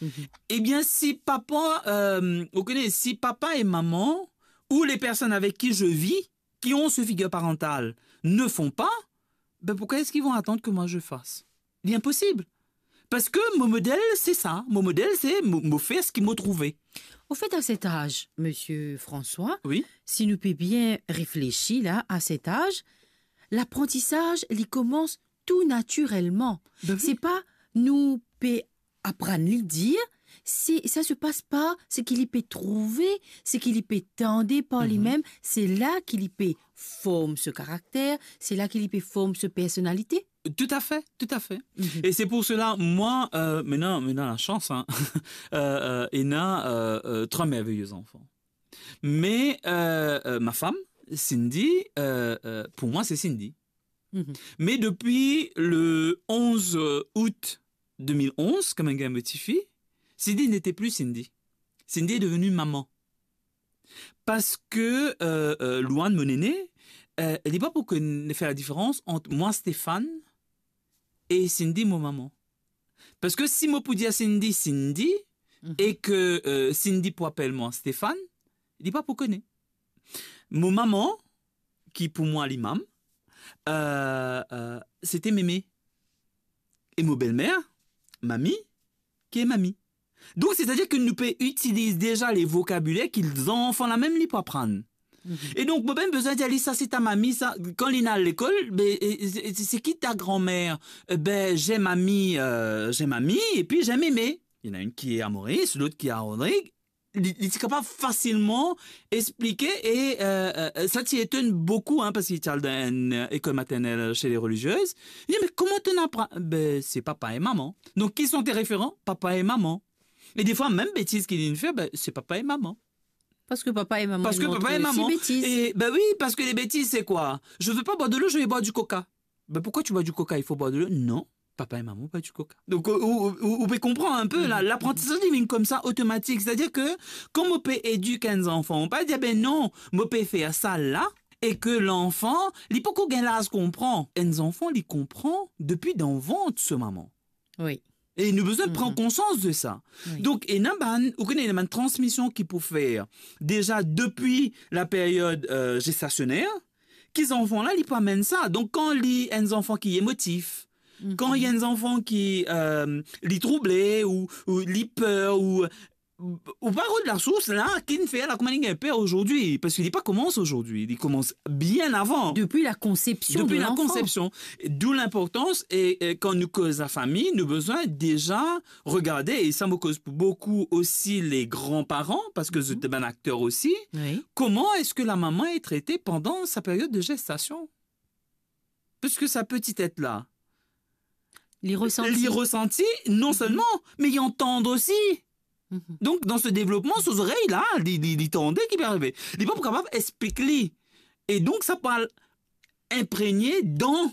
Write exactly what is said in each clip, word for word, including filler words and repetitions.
Mhm. Eh bien, si papa, euh, vous connaissez, si papa et maman ou les personnes avec qui je vis, qui ont ce figure parentale, ne font pas, ben pourquoi est-ce qu'ils vont attendre que moi je fasse ? Il est impossible. Parce que mon modèle, c'est ça. Mon modèle, c'est mo, mo fer seki mo trouve. Au fait, à cet âge, monsieur François, oui, si nou pe bien réfléchi la, à cet âge, l'apprentissage, li koumans tou natirelman. Ben oui. Se pa nou pe aprann li dir, se, sa se pas par seki li pe trouve, seki li pe tande par limem, se la ki li pe form so karakter, se la ki li pe form so personalite. Tout à fait, tout à fait. Mhm. Et c'est pour cela, moi, euh, maintenant, maintenant, la chance, hein, euh, euh, ena, euh, euh, trois merveilleux enfants. Mais, euh, euh, ma femme, Cindy, euh, euh, pour moi, c'est Cindy. Mhm. Mais depuis le onze août deux mille onze, kan mo'nn gagn mo tifi, Cindy n'était plus Cindy. Cindy est devenue maman. Parce que, euh, euh, Louane, mon aînée, euh, elle n'est pas pour que n-, faire la différence entre moi, Stéphane, et Cindy, mon maman. Parce que si mo pou dir Cindy, Cindy, mhm, et que, euh, Cindy pou apel mwa Stéphane, li pa pou kone. Mo maman, ki pou mwa li mam, euh, euh, c'était mémé. Et mo belmer, mami, ki est mamie. Donc, c'est-à-dire que nou pe itiliz deza le vokabiler ki zanfan la mem li pou aprann. Mhm. E donk, mo pa bizin dir li, "Sa se ta mami, sa." Kan li al lekol, be, e, e, se, se ki ta granmer? E ben, j'ai mamie, euh, j'ai mamie, et puis j'ai mémé. Il y en a une qui est à Maurice, l'autre qui est à Rodrigues. Li, li ti kapav fasilman explike e, euh, euh, sa ti etonn boukou, hein, parski li ti al dan enn, euh, école maternelle chez les religieuses. Li dir, "Mais comment t'en apprends?" Ben, c'est papa et maman. Donc, qui sont tes référents? Papa et maman. Et des fois, même bêtise ki li fer, ben, c'est papa et maman. Parce que papa et maman, ils montrent aussi bêtise. Parce que papa et maman. Et, ben oui, parce que les bêtises, c'est quoi? "Je veux pas boire de l'eau, je vais boire du coca." Ben, pourquoi tu bois du coca? Il faut boire de l'eau. Non, papa et maman boivent du coca. Donc, ou, ou, ou, ou pe konpran enn pe, la, laprantisaz, li vinn koumsa, otomatik. C'est-à-dire que, kan mo pe edik enn zanfan, mo pa dir, "Ben non, mo pe fer sa la," e ke lanfan, li poko gagn laz konpran. Enn zanfan, li konpran depi dan vant so mama. Oui. E nou bizin pran konsians de sa. Oui. Donk, ena bann, ou kone, ena bann transmision ki pou fer deza depi la period, euh, gestasioner, ki zanfan la, li pou amenn sa. Donk, kan li, enn zanfan ki emotif, kan li enn zanfan ki, euh, li trouble, ou, ou li per, ou, ou pa rod lasours la, ki fer la, kouma li gagn per azordi, parski li pa koumans azordi, li koumans bien avan. Depuis la conception de l'enfant. Depuis la conception. D'où l'importance, e, e kan nou koz lafami, nou bizin deza regarde, e sa mo koz pou boukou osi le granparan, parski zot bann akter osi, oui, comment est-ce que la maman est traitée pendant sa période de gestation? Parce que sa petite tête là, li resanti, li resanti non selman, me li antann osi. Mhm. Donk, dan so devlopman, so zorey la, li, li, li tande ki pe arive. Li pa pou kapav explik li. E donk, sa pou al inpregne dan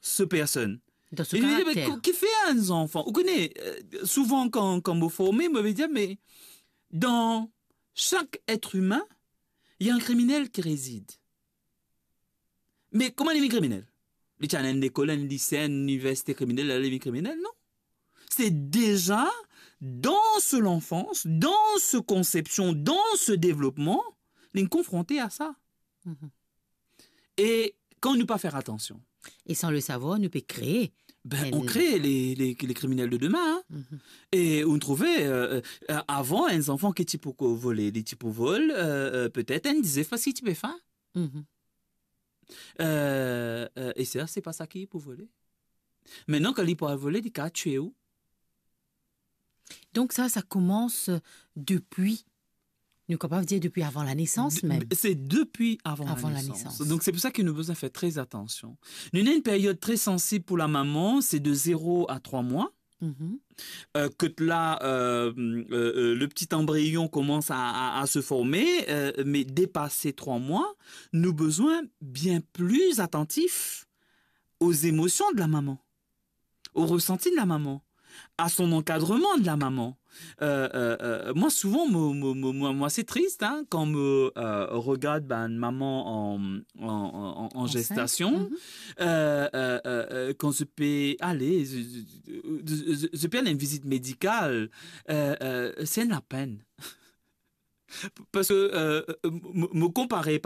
so personn. Dan so karakter. E li dir, "Me ki, ki fer enn zanfan?" Ou kone, euh, souvan kan, kan mo forme, mo pe dir, "Me dan sak et imin, il y a un criminel qui réside." Me kouma li vinn kriminel? Li ti al enn lekol, enn lise, enn liniversite kriminel, la li vinn kriminel? Non. Se deza dan so lanfans, dan so konsepsion, dan so devlopman, li konfronte a sa. Mhm. E kan nou pa fer atansion, et sans le savoir, nou pe kree, ben, on crée les, les, les criminels de demain, hein. Mhm. E ou trouve, euh, euh, avan, enn zanfan ki ti pou ko-, vole, li ti pou vol, euh, euh, petet enn dizef parski ti pe fin. Mhm. Euh, euh, e sa, se pa sa ki pou vole. Aster, kan li pou al vole, li kapav tir ou. Donk sa, sa koumans depi, nou kapav dir depi avan lanesans mem. De-, se depi avan lanesans. Avan lanesans. Donk se pou sa ki nou bizin fer tre atansion. Nou ena enn period tre sansib pou lamama, se de zero a trwa mwa. Mhm. Euh, kot la, euh, euh, euh, le petit embryon commence à, à, à se former, euh, me depase trwa mwa, nou bizin bien pli atantif aux émotions de la maman, au ressenti de la maman. à son encadrement de la maman. Euh, euh, euh, moi, souvent, moi, moi, moi, moi, moi, c'est triste, hein, quand je euh, regarde ben, une maman en, en, en, en Enceinte. Gestation, Mhm. euh, euh, euh, euh, quand je peux aller, je, je, je, je peux aller à une visite médicale, euh, euh, c'est la peine. Parce que euh, euh, me, me comparer